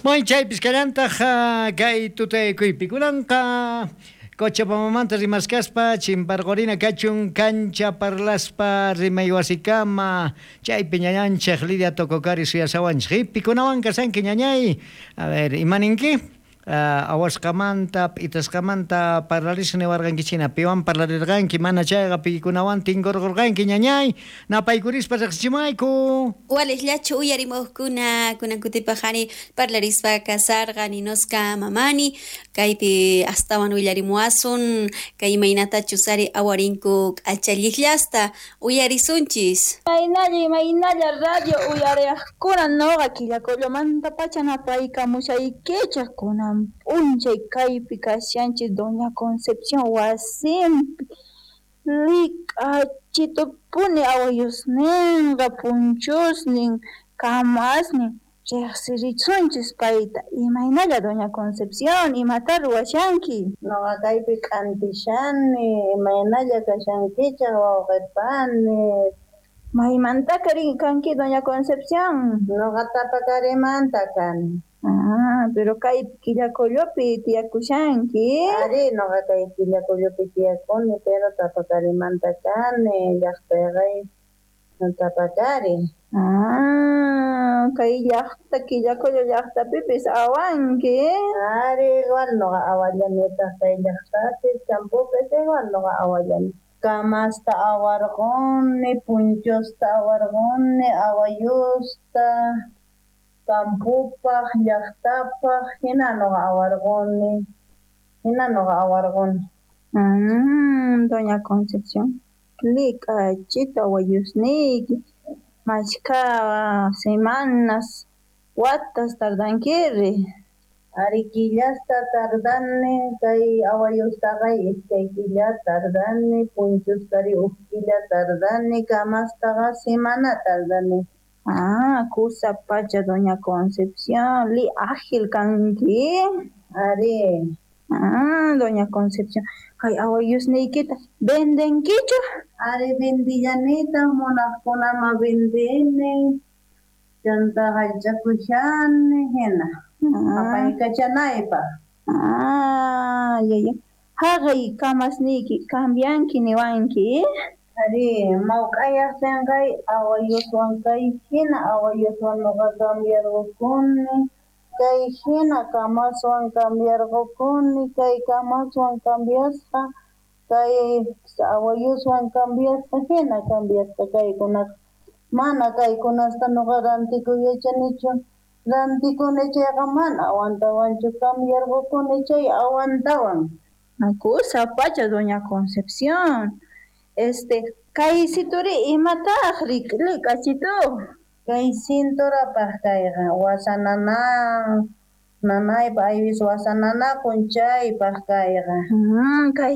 May chaypis kallantaq kay tutaykuypi kunanqa Cochabambamanta rimaskaspa chimparqurina kachun kancha parlaspa rimaywasikama chaypi ñañanchik Lidia Tococari suyasawanchik. Pikunawan kashanki ñañay? A ver, imaninki? Awasqamanta, p'itasqamanta parlarisqa niwarqankichina, piwan parlarirqanki, mana chayqa pikunawan tinkurqurqanki ñañay, napaykurispa riqsichimayku. Waliqllachu uyarimuqkuna kunan kutipaq ari parlarispa kasarqa ninosqa mamani kaypi astawan willarimuwasun kay imaynatachus ari awarinku k'achalliqllasta uyarisunchis. Imaynalla imaynalla radio uyariqkuna noqa Quillacollomantapacha napaykamushaykichik kunan p'unchay kaypi kashanchis Doña Concepción wasinpi lik'achitupuni awayusninqa punchusnin kamasnin riqsirisunchis payta. Imaynalla Doña Concepción, imata ruwashanki? Noqa kaypi k'antishani, imaynalla kashankichik wawqipani. Maymanta kanki Doña Concepción? Noqa Tapacarimanta kani. Ah, pero kay Quillacollopi tiyakushanki. Ari, noqa kay Quillacollopi tiyakuni, pero Tapacarimanta kani, llaqtayqa Tapacari. Ah, kay llaqta Quillacollo llaqtapipis awanki. Ari, igual noqa awallanitaq kay llaqtapis, campopis igual noqa awallani. Kamasta awarquni, punchusta awarquni, awayusta, campopaq, llaqtapaq, hina noqa awarquni, hina noqa awarquni. Doña Concepción, lik'achita awayusniyki, mashkha semanas, watas tardankiri? Ari killasta tardani, kay awayustaqa iskay killa tardani, punchustari huk killa tardani, kamastaqa semana tardani. Ah, kusa pacha Doña Concepción, li ágil kanki. Ari. Ah, Doña Concepción, kay awayusniykita vendenkichu? Ari vendillanitaq, munaqkunama vendini, chanta hallch'akushani hina. Apaykachanaypaq. Ah, yaya. Haqay kamasniyki cambianki niwanki. Ari, mawk'ayaqtinqay awayuswan kay hina awayuswan noqa cambiarqukuni, kay hina kamaswan cambiarqukuni, kay kamaswan cambiasqa, kay awayuswan cambiasqa, hina cambiasqa kaykunaqa. Mana kaykunasta noqa rantikuy yachanichu. Rantikuni chayqa mana awantawanchu, cambiarqukuni chay awantawan. Kusa pacha Doña Concepción. Kay situri imataq lik'achitu? Kay cinturapaq kayqa wasa nanaypa aywis wasa nanakun chaypaq kayqa. Kay